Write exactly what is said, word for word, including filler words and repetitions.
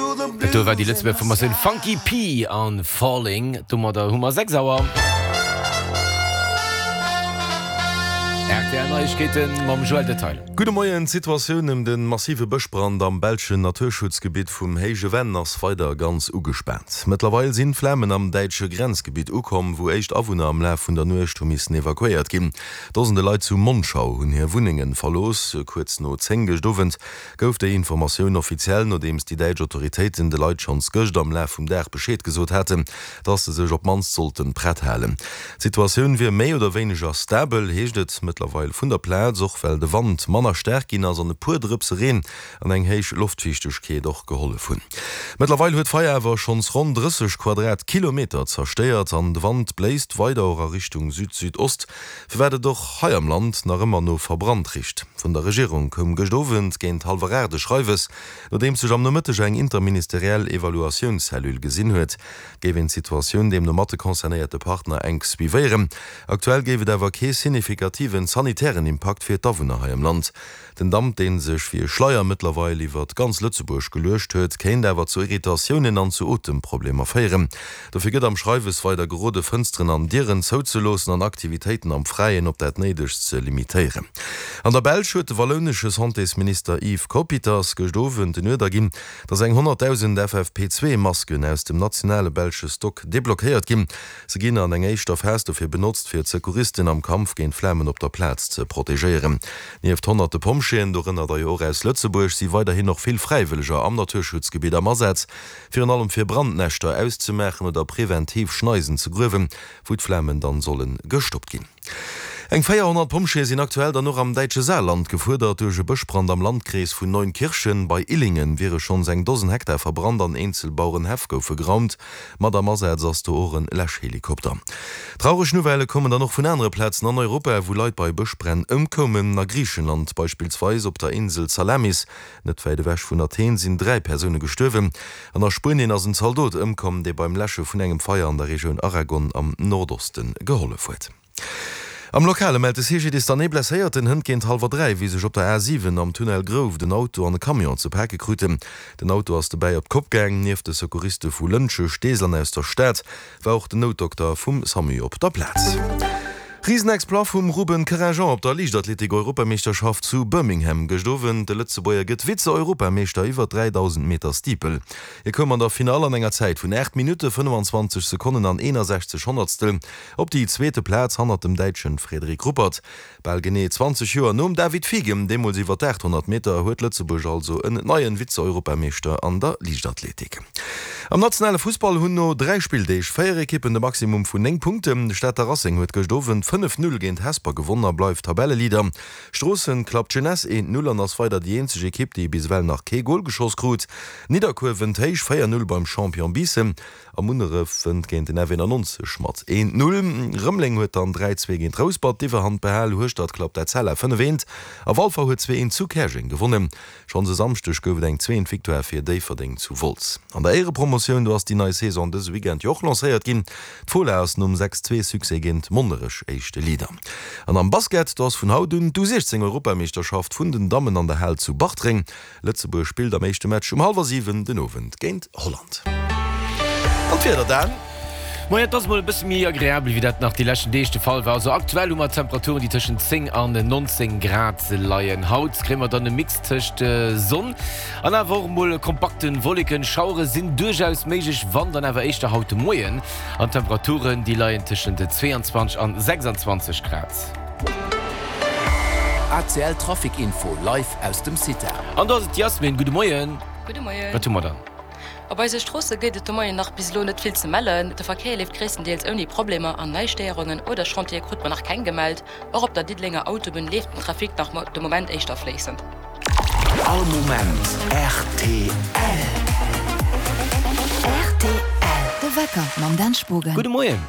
Dat do war déi Lëtzebuerger Formatioun Funky P an Falling. Domadder hu mer sechs Auer. Rtl Neiegkeeten mam Joël Detail. Gudde Moien, D'Situatioun ëm de massive Bëschbrand am belschen Naturschutzgebitt vum Héije Venn ass weider ganz ugespaant. Mëttlerweil sinn d'Flamen am däitsche Grenzgebitt ukomm, wou éischt Awunner am Laf vun der Nuecht hu missen evakuéiert ginn. Dosende Leit zu Monschau hunn hir Wunnengen verlooss. Kuerz no zéng gëscht Owend gouf déi Informatioun offiziell, nodeems déi däitsch Autoritéiten de Leit schonns gëscht am Laf vum Dag Bescheed gesot haten, dass se sech op d'mannst sollte prett halen. D'Situatioun wier méi oder wéineger stabel, heescht et mëttlerweil vun der Plaz, och well de Wand manner staark ginn ass an e puer Drëpse Reen an eng héich Loftfiichtegkeet och gehollef hunn. Mëttlerweil huet d'Feier awer schonns ronn drësseg Quadratkilometer zerstéiert an de Wand bléist weider och a Richtung Süd-Südost, firwat et och hei am Land nach ëmmer no verbrannt richt. Vun der Regierung koum gëscht Owend géint hallwer aacht e Schreiwes, nodeems sech am Nomëtteg eng interministeriell Evaluatiounscellule gesinn huet, géif een d'Situatioun deemno mat de concernéierte Partner enk suivéieren. Aktuell géif et awer kee signifikativen sanitären Impakt fir d'Awunner hei am Land. Den Damp, dee sech wéi e Schleier mëttlerweil iwwert ganz Lëtzebuerg geluecht huet, kéint awer zu Irritatiounen an zu Otemproblemer féieren. Dofir gëtt am Schreiwes weider gerode, Fënsteren an Dieren zouzeloossen an Aktivitéiten am Fräien op dat Néidegst ze limitéieren. An der Belsch huet de wallounesche Santésminister Yves Coppieters gëscht Owend den Uerder ginn, datt eng honnertdausend F F P zwee Masken aus dem nationale belsche Stock deblockéiert ginn. Se ginn an enger éischter Phas dofir benotzt, fir d'Secouristen am Kampf géint d'Flamen op der Plaz ze protegéieren. Nieft honnerte Pompjeeën, dorënner der jo och aus Lëtzebuerg, si weiderhin och vill Fräiwëlleger am Naturschutzgebitt am Asaz, virun allem fir Brandnäschter auszemaachen oder preventiv Schneisen ze gruewen, wou d'Flamen dann solle gestoppt ginn. Eng véierhonnert Pompjeeë sinn aktuell dann och am däitsche Saarland gefuerdert. Duerch e Bëschbrand am Landkrees vun Neunkirchen bei Illingen wiere schonns eng Dosen Hektar verbrannt an eenzel Bauerenhäff goufe geraumt. Mat am Asaz ass do och en Läschhelikopter. Traureg Nouvellë kommen dann och vun anere Plazen an Europa, wou Leit bei Bëschbränn ëmkoumen. A Griichenland beispillsweis, op der Insel Salamis, net wäit ewech vun Athen, sinn dräi Persoune gestuerwen. An a Spuenien ass en Zaldot ëmkomm, dee beim Läsche vun engem Feier an der Regioun Aragon am Nordoste gehollef huet. Am Lokale mellt de C G D S dann ee Blesséierten hënt géint hallwer dräi, wéi sech op der A siwen am Tunnel Grouft en Auto an e Camion ze pake kruten. Den Auto ass dobäi op d'Kopp gaang. Nieft de Secouriste vu Lëntge, Steesel an aus der Stad war och den Noutdokter vum SAMU op der Plaz. Risenexploit vum Ruben Querinjean op der Liichtathletik-Europameeschterschaft zu Birmingham gëscht Owend. De Lëtzebuerger gëtt Vize-Europameeschter iwwer dräidausend Meter Steeple. Hie koum an der Finall an enger Zäit vun aacht Minutte, fënnefenzwanzeg Sekonnen an eenasechzeg Honnertstel op déi zweete Plaz hannert dem Däitsche Frederik Ruppert. Bal genee zwanzeg Joer nom David Fiegem, deemools iwwer d'aathonnert Meter, huet Lëtzebuerg also en neien Vize-Europameeschter an der Liichtathletik. Am nationale Fussball hunn no dräi Spilldeeg véier Ekippen de Maximum vun néng Punkten. De Stater Racing huet gëscht Owend fënnef Null géint Hesper gewonn a bleift Tabelleleader. Stroossen klappt d'Jeunesse eent Null an ass weider déi eenzeg Ekipp, déi bis ewell nach kee Gol geschoss krut. Nidderkuer wënnt héich véier Null beim Champion Biissen a Munneref wënnt géint den F eenannonzeg mat eent Null. Rëmeleng huet dann dräi zwee géint Rouspert d'Iwwerhand behal, Hueschtert klappt Etzella fënnef eent a Walfer huet zwee eent zu Käerjeng gewonnen. Schonns e Samschdeg gouf et eng zweent Victoire fir Déifferdeng zu Wolz. An der Éierepromotioun, do ass déi nei Saison dëse Weekend jo och lancéiert ginn. D'Fola ass nom sechs zwee Succès géint Monnerech éischte Leader. An am Basket, do ass vun haut un d'U siechzéng Europameeschterschaft vun den Dammen an der Hal zu Bartreng. Lëtzebuerg spillt am éischte Match um hallwer siwen den Owend géint Holland. An d'Wieder dann? Moien, et ass mol e bësse méi agreabel, wéi dat nach déi leschten Deeg de Fall war. Also aktuell hu mer Temperaturen, déi tëschent zéng an nonzéng Grad leien. Haut kréie mer dann e Mix tëscht Sonn an awer och mol kompakte Wolleken. Schauere sinn duerchaus méiglech, wann dann awer éischter haut de Moien. An d'Temperaturen, déi leien tëschent zweeanzwanzeg an sechsanzwanzeg Grad. A C L Trafic Info live aus dem CITA. An do ass et d'Yasmine. Gudde Moien. Gudde Moien. Wat hu mer dann? Op eise Stroosse gëtt et de Moien nach bis elo net vill ze mellen. De Verkéier leeft gréisstendeels ouni Problemer an nei Stéierungen oder Chantiere krut mer nach keng gemellt. Och op der Diddelenger Autobunn leeft den Trafic nach de Moment éischter fléissend. All Moment R T L. R T L, de Wecker mam Dan Spogen. Gudde Moien.